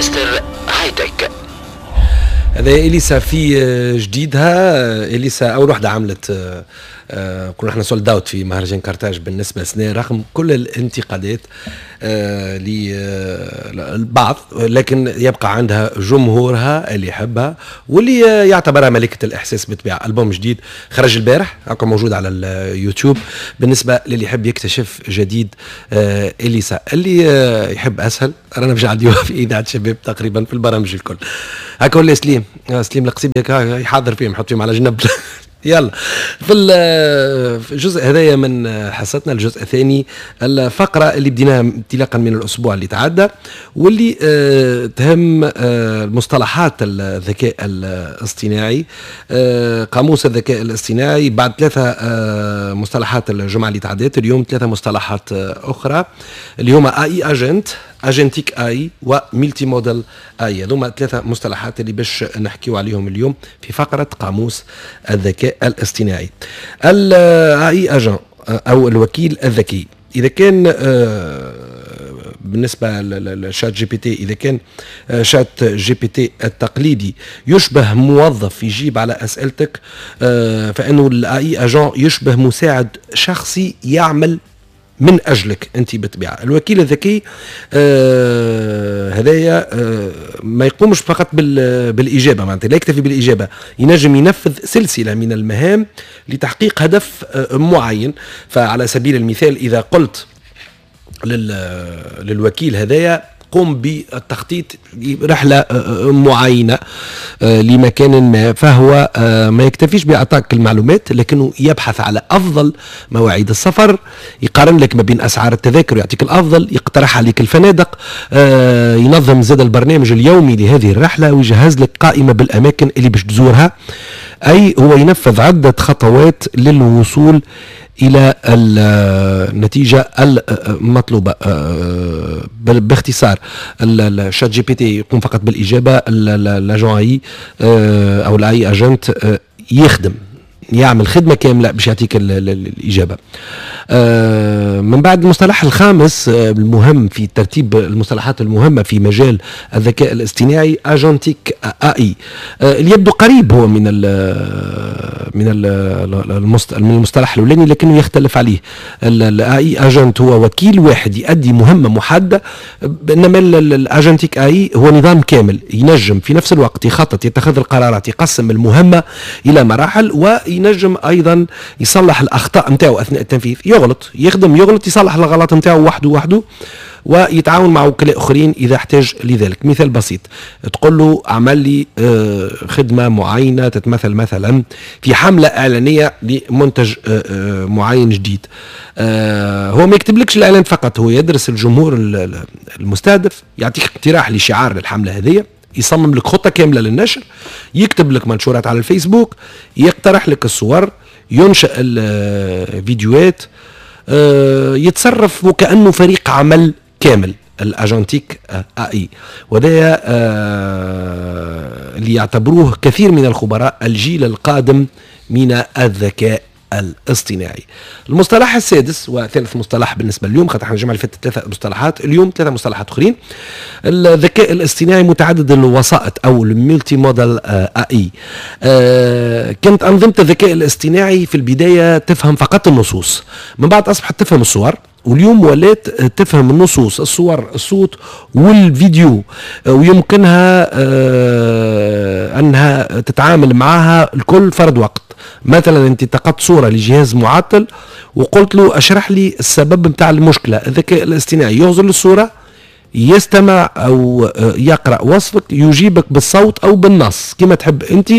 مستر High-Tech. هذا اليسا في جديدها. اليسا اول وحده عملت كنا احنا sold out في مهرجان كارتاج بالنسبة لسنه، رغم كل الانتقادات للبعض، لكن يبقى عندها جمهورها اللي يحبها واللي يعتبرها ملكه الاحساس بالطبيعه. البوم جديد خرج البارح، هكا موجود على اليوتيوب بالنسبة للي يحب يكتشف جديد اليسا. اللي يحب اسهل رانا باش نعديوها في اذاعة شباب تقريبا في البرامج الكل. هكا ولا سليم؟ سليم القصيبي يحاضر فيهم، يحط فيهم على جنب. يلا، في الجزء هذايا من حصتنا، الجزء الثاني، الفقرة اللي بديناها انطلاقا من الأسبوع اللي تعدى واللي تهم المصطلحات الذكاء الاصطناعي، قاموس الذكاء الاصطناعي. بعد ثلاثة مصطلحات الجمعة اللي تعدت، اليوم ثلاثة مصطلحات أخرى اللي هما AI agent، agentic AI و multimodal AI. هذوما ثلاثة مصطلحات اللي باش نحكيو عليهم اليوم في فقره قاموس الذكاء الاصطناعي. ال AI agent او الوكيل الذكي، اذا كان بالنسبة لل ChatGPT، اذا كان ChatGPT التقليدي يشبه موظف يجيب على اسئلتك، فانه ال AI agent يشبه مساعد شخصي يعمل من اجلك انت. بالطبيعة الوكيل الذكي هذايا ما يقومش فقط بالاجابه، معناتها لا يكتفي بالاجابه، ينجم ينفذ سلسلة من المهام لتحقيق هدف معين. فعلى سبيل المثال، اذا قلت للوكيل هذايا قم بالتخطيط رحلة معينة لمكان ما، فهو ما يكتفيش بإعطائك المعلومات، لكنه يبحث على أفضل مواعيد السفر، يقارن لك ما بين أسعار التذاكر ويعطيك الأفضل، يقترح عليك الفنادق، ينظم زاد البرنامج اليومي لهذه الرحلة ويجهز لك قائمة بالأماكن اللي باش تزورها. أي هو ينفذ عدة خطوات للوصول الى النتيجة المطلوبه. باختصار، ال ChatGPT يقوم فقط بالاجابه، l'agent AI او ال AI agent يخدم، يعمل خدمة كاملة باش يعطيك الاجابه. من بعد، المصطلح الخامس المهم في ترتيب المصطلحات المهمة في مجال الذكاء الاصطناعي agentic AI، اللي يبدو قريب هو من المصطلح الاولاني لكنه يختلف عليه. ال AI agent هو وكيل واحد يؤدي مهمة محدده، انما ال agentic AI هو نظام كامل ينجم في نفس الوقت يخطط، يتخذ القرارات، يقسم المهمة الى مراحل، وينجم ايضا يصلح الاخطاء نتاعو اثناء التنفيذ. يغلط، يخدم، يغلط، يصلح الغلط نتاعو وحده وحده، ويتعاون مع وكلاء اخرين اذا احتاج لذلك. مثال بسيط، تقول له اعمل لي خدمة معينة تتمثل مثلا في حمله اعلانية لمنتج معين جديد، هو ما يكتبلكش الاعلان فقط، هو يدرس الجمهور المستهدف، يعطيك اقتراح لشعار للحملة هذه، يصمم لك خطه كاملة للنشر، يكتب لك منشورات على الفيسبوك، يقترح لك الصور، ينشئ الفيديوهات، يتصرف وكانه فريق عمل كامل. ال agentic AI، وهذا اللي يعتبروه كثير من الخبراء الجيل القادم من الذكاء الاصطناعي. المصطلح السادس وثالث مصطلح بالنسبة لليوم، خاطر احنا الجمعة اللي فاتت ثلاثة مصطلحات، اليوم ثلاثة مصطلحات اخرين. الذكاء الاصطناعي متعدد الوسائط او ال multimodal AI. كانت انظمة الذكاء الاصطناعي في البداية تفهم فقط النصوص، من بعد اصبحت تفهم الصور، واليوم ولات تفهم النصوص، الصور، الصوت والفيديو، ويمكنها انها تتعامل معها الكل فرد وقت. مثلا انت التقطت صوره لجهاز معطل وقلت له اشرح لي السبب نتاع المشكله، الذكاء الاصطناعي يغزر للصوره، يستمع او يقرا وصفك، يجيبك بالصوت او بالنص كما تحب انت،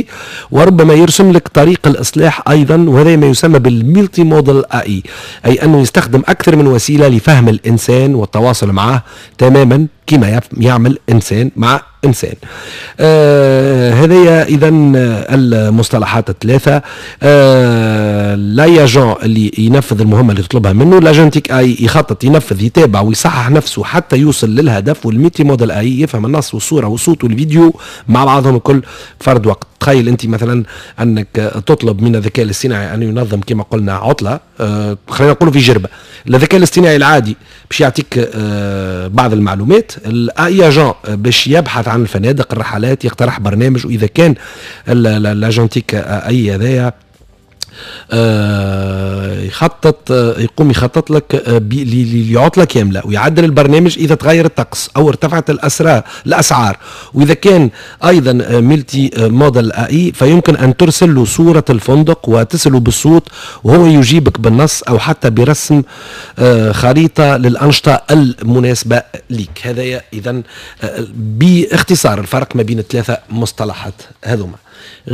وربما يرسم لك طريق الاصلاح ايضا. وهذا ما يسمى بال multimodal AI، اي انه يستخدم اكثر من وسيلة لفهم الانسان والتواصل معه تماما كما يعمل انسان مع انسان. انسان. هذه اذا المصطلحات الثلاثه: l'AI agent اللي ينفذ المهمة اللي تطلبها منه، l'agentic AI يخطط، ينفذ، يتابع ويصحح نفسه حتى يوصل للهدف، وال multimodal AI يفهم النص والصورة والصوت والفيديو مع بعضهم الكل فرد وقت. تخيل انت مثلا انك تطلب من الذكاء الاصطناعي ان ينظم كما قلنا عطله، خلينا نقول في جربه. الذكاء الاصطناعي العادي باش يعطيك بعض المعلومات، ال AI agent باش يبحث عن الفنادق، الرحلات، يقترح برنامج، واذا كان l'agentic AI هذايا يخطط، يقوم يخطط لك لعطله كاملة ويعدل البرنامج اذا تغير الطقس او ارتفعت الاسعار. واذا كان ايضا multimodal AI فيمكن ان ترسل له صوره الفندق وتساله بالصوت وهو يجيبك بالنص او حتى برسم خريطة للانشطه المناسبة لك. هذا اذا باختصار الفرق ما بين الثلاثة مصطلحات هذوما.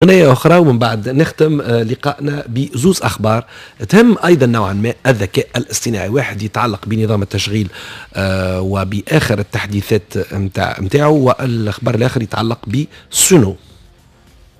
غناية أخرى ومن بعد نختم لقائنا بزوز أخبار تهم أيضا نوعا ما الذكاء الاصطناعي. واحد يتعلق بنظام التشغيل وبآخر التحديثات متاعه، والخبر الآخر يتعلق بسونو.